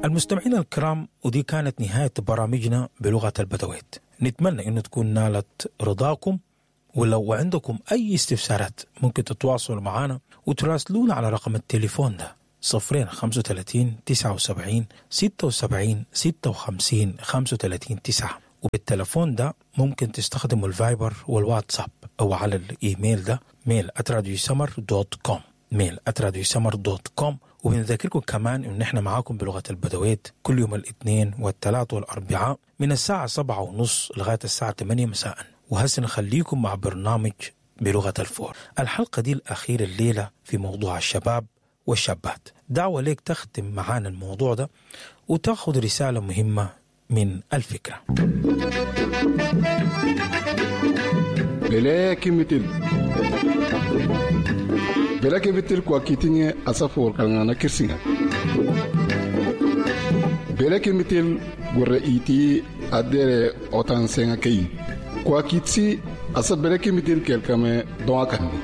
المستمعين الكرام، ودي كانت نهاية برامجنا بلغة البدويت. نتمنى أنه تكون نالت رضاكم، ولو عندكم أي استفسارات ممكن تتواصلوا معنا وتراسلونا على رقم التليفون ده 0 35 79 76 56 35 9. وبالتلفون ده ممكن تستخدموا الفايبر والواتساب أو على الإيميل ده mail@radiosummer.com، mail@radiosummer.com. وبنذكركم كمان إن إحنا معاكم بلغة البدويت كل يوم الاثنين والثلاث والأربعاء من الساعة 7:30 لغاية الساعة 8 مساء. وهسه نخليكم مع برنامج بلغة الفور، الحلقة دي الأخيرة الليلة في موضوع الشباب والشابات. دعوة ليك تختم معانا الموضوع ده وتاخد رسالة مهمة من الفكرة. Bele kimitil. Bele kimitil kwa kitinye asafor kangana kirsinga. Bele kimitil gurre iti adere otan senga kei. Kwa kitsi asa bele kimitil kelkame doa kandi.